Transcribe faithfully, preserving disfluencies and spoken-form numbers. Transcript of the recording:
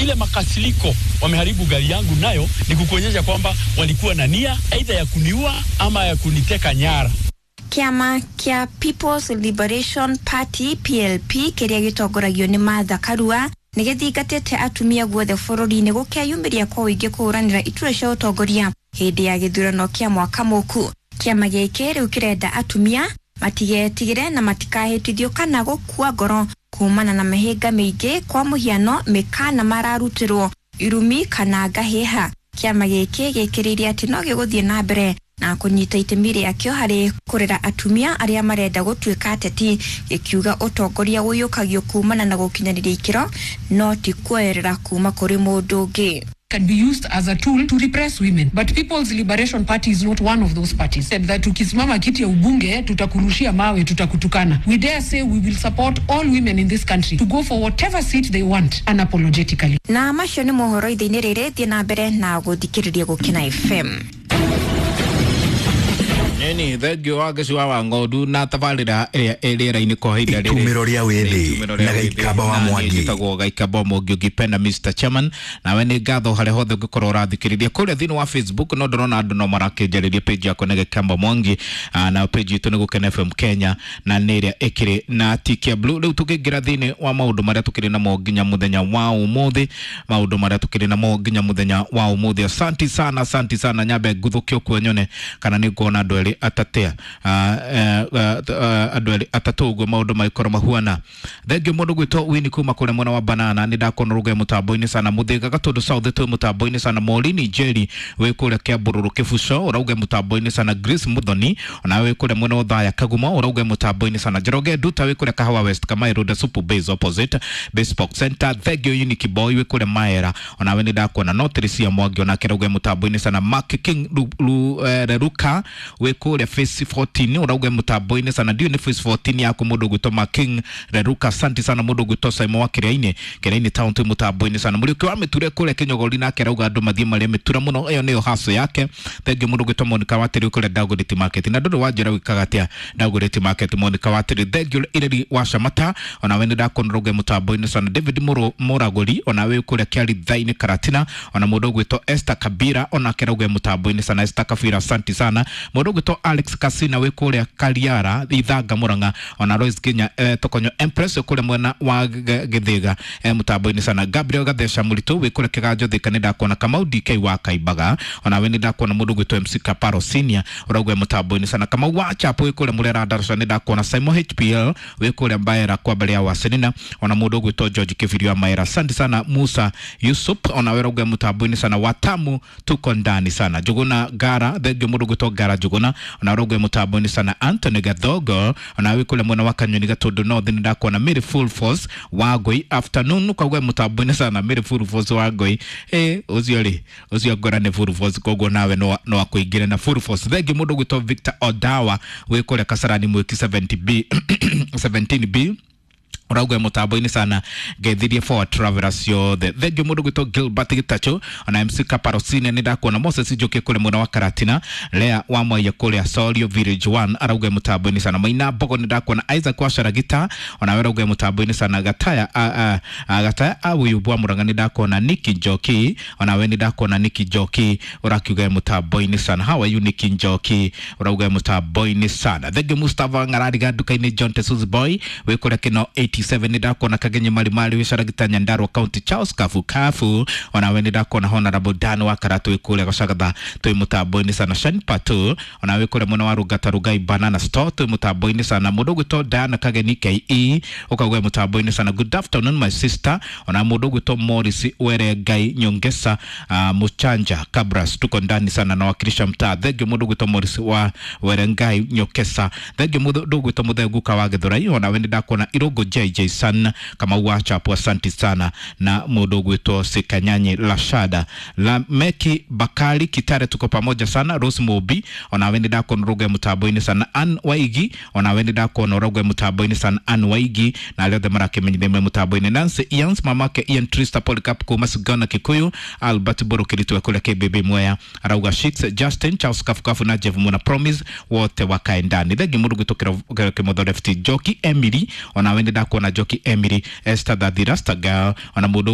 Ile makasiliko wameharibu gari yangu nayo ni kukuonyesha kwamba walikuwa na nia aidha ya kuniua ama ya kuniteka nyara. Kiama kia People's Liberation Party P L P kiria gitongoragio ni Martha Karua nĩ gĩthingatĩte atumia guothe bũrũri-inĩ gũkeyumĩria kwa ũingĩ kũhũranĩra iturwa cia ũtongoria hĩndĩ ya gĩthurano kĩa mwaka mũku. Kĩama gĩkĩ rĩu kĩrenda atumia matigetigĩre na matikahĩtithio kana gũkua ngoro kumana na mĩhĩnga mĩingĩ, kwa mũhiano mĩkana mararutĩrwo, irumi kana ngahĩha. Kĩama gĩkĩ gĩkĩrĩirie atĩ no gĩgũthiĩ na mbere na kũnyita itemi rĩakĩo harĩ kũrera atumia arĩa marenda gũtuĩka ateti, gĩkiuga ũtongoria ũiyũkagio kumana na gũkinyanĩria ikĩro no ti kuoerera kuma kũrĩ mũndũ ũngĩ. Can be used as a tool to repress women. But People's Liberation Party is not one of those parties. Said that ukisimama kiti ya ubunge, tutakurushia mawe, tutakutukana. We dare say we will support all women in this country to go for whatever seat they want unapologetically. Na macio nĩ mohoro ithe-inĩ rĩrĩ. Thiĩ na mbere na gũthikĩrĩria Gũkena F M. Nini thengio wa gĩcua wa ng'ondu na tabarĩra ĩrĩa ĩ rĩera-inĩ kwa ihinda rĩrĩ. Itumĩro rĩa wĩthĩ. Itumĩro rĩa Na wĩthĩ. Gaikamba wa Na niĩ Mwangi. njĩtagwo Gaikamba wa Mwangi, ũngĩpenda Mister Chairman. Nawe nĩ ngatho harĩa hothe ũngĩkorwo ũrathikĩrĩria kũrĩa thĩinĩ wa Facebook. No ndĩrona andũ no marakĩnjarĩria page yakwa nĩ Gaikamba Mwangi. Ah, na page itũ nĩ Gũkena F M Kenya na nĩ ĩrĩa ĩkĩrĩ na tick ya blue. Rĩu tũkĩingĩra thĩinĩ wa maũndũ marĩa tũkĩrĩ namo nginya mũthenya wa ũmũthĩ, maũndũ marĩa tũkĩrĩ namo nginya mũthenya wa ũmũthĩ. Asanti sana, asanti sana. Nyambe nguthũkio kuo nyone kana nĩ nguona andũ erĩ atatea andũ erĩ atatũ ũguo maũndũ magĩkorwo mahuana. Thengio mũndũ gwĩtwo Wini kuma kũrĩa mwena wa Banana, nĩ ndakona rũge mũtambo-inĩ sana. Mũthĩga Gatũndũ South twĩ mũtambo-inĩ sana. Morini Njeri wĩ kũrĩa Kĩambũrũrũ Kĩbuco ũrauge mũtambo-inĩ sana. Grace Muthoni onawe wĩ kũrĩa mwena wa Othaya Kagumo ũrauge mũtambo-inĩ sana. Njoroge Nduta wĩ kũrĩa Kahawa West, Kamai Road, Supu Base opposite Bespoke Center. Thengio Unique Boy wĩ kũrĩa Maera, onawe nĩ ndakuona. No Teresia Mwangi onake rauge mũtambo-inĩ sana. Mark King Ru, Ru, eh, Reruka wĩ kũrĩa Phase fourteen ũrauge mũtambo-inĩ sana. Ndiũ nĩ Phase fourteen yaku, mũndũ ũgwĩtwo Mark King Reruka, asante sana. Mũndũ ũgwĩtwo Simon wa Kĩrĩa-inĩ Kĩrĩa-inĩ town twĩ mũtambo-inĩ sana. Mũriũki wa mĩture kũrĩa Kĩnyogori nake arauga andũ mathiĩ marĩa mĩtura mũno, ĩyo nĩyo haso yake. Thengio mũndũ ũgwĩtwo Monica Watĩrĩ kũrĩa Dagoretti Market, na ndũrĩ wanjĩra wĩkaga atĩa Dagoretti Market, Monica Watĩrĩ. Thengio Ireri wa Shamata, onawe nĩ ndakuona rauge mũtambo-inĩ sana. David Mũrũ- Mũragũri onawe kũrĩa Kĩaritha-inĩ Karatina, ona mũndũ ũgwĩtwo Esther Kabira onake rauge mũtambo-inĩ sana. Esther Kabira, asante sana. Mũndũ ũgwĩtwo Alex Kasina wĩ kũrĩa Kariara Ithanga Murang'a, ona Rose Ginya eh, Tokonyo Empress wĩ kũrĩa mwena wa Gĩ- Gĩthĩga eh, mũtambo-inĩ sana. Gabriel Gatheca Mũritũ wĩ kũrĩa Kĩganjo Thika, nĩ ndakuona. Kamau D K wa Kaimbaga onawe nĩ ndakuona. Mũndũ ũgwĩtwo M C Kaparo Senior ũrauga mũtambo-inĩ sana. Kamau wa Chapo wĩ kũrĩa Mũrera Ndaraca, nĩ ndakuona. Simon H P L wĩ kũrĩa Mbaera kwa mbere ya Wasenina, ona mũndũ ũgwĩtwo George Kibirio wa Maera, asante sana. Musa Yusuf onawe ũrauga mũtambo-inĩ sana. Watamu tuko ndani sana. Njuguna Gara, thengio mũndũ ũgwĩtwo Gara Njuguna, ona ũrauga mũtambo-inĩ sana. Anthony Gathogo onawe kũrĩa mwena wa Kanyoni Gatũndũ North, nĩ ndakuona. Mary Full Force Wangũi, afternoon kauga mũtambo-inĩ sana. Mary Full Force Wangũi, eh ũcio rĩ, ũcio ngora nĩ Full Force, koguo nawe no no akũingĩre na Full Force. Thengio mũndũ ũgwĩtwo Victor Odawa wĩ kũrĩa Kasarani Mwiki seventy B seventeen B ũrauga mũtambo-inĩ sana. Ngethirie for travelers ciothe. Thengio mũndũ gwĩtwo Gilbert Gitacho, ona M C Kaparosine nĩ ndakuona. Moses Njoki kũrĩa mwena wa Karatina, Lea wa Mwaiya kũrĩa Sorio Village one arauga mũtambo-inĩ sana. Maina Mbogo nĩ ndakuona. Isaac wa Sharagita ona we arauga mũtambo-inĩ sana. Gataya a, a, a, Gataya Awuyubwa Murang'a nĩ ndakuona. Niki Njoki ona we nĩ ndakuona. Niki Njoki ũrakiuga mũtambo-inĩ sana. How are you, Niki Njoki? Ũrauga mũtambo-inĩ sana. Thengio Mustafa Ng'arariga nduka-inĩ. John Tesus Boy wĩ kũrĩa Kĩno eighty-seven nĩ ndakuona. Kagenye Marimari wĩ Caragita Nyandarua County. Charles Kafu Kafu onawe nĩ ndakuona. Honorable Dan wa Karatu wĩ kũrĩa Gacagatha twĩ mũtambo-inĩ sana. Shan Patu onawe kũrĩa mwena wa Rungata Rugai Banana Store twĩ mũtambo-inĩ sana. Mũndũ ũgwĩtwo Diana Kageni K E ũkauga mũtambo-inĩ sana. Good afternoon, my sister. Ona mũndũ ũgwĩtwo Morris Were Ngai Nyongesa uh, Muchanja Kabras, tuko ndani sana na wakilisha mtaa. Thengio mũndũ ũgwĩtwo Morris wa Were Ngai Nyongesa. Thengio mũndũ ũgwĩtwo Mũthenguka wa Gĩthũrai, onawe nĩ ndakuona. Irũngũ J J San Kamau wa Chapo, asante sana. Na mũndũ ũgwĩtwo Sikanyanye Lashada Lameki Bakari Kitare, tuko pamoja sana. Rose Mobi onawe nĩ ndakuona ũrauga mũtambo-inĩ sana. Ann Waigi onawe nĩ ndakuona ũrauga mũtambo-inĩ sana. Ann Waigi na arĩa othe marakĩmenyithia me mũtambo-inĩ. Nancy Ians, mamake Ian Trista Polycarp kuma Sigana Kikuyu, Albert Borokiritu kũrĩa K B B Mwea arauga Shix Justin Charles Kafukafu na Jeff Muna Promise wote wakae ndani. Thengi mũndũ gwĩtwo Kĩmotho Left Joki Emily onawe nĩ ndakuona. Joki Emily, Esther Thathira Stagal ona mũndũ.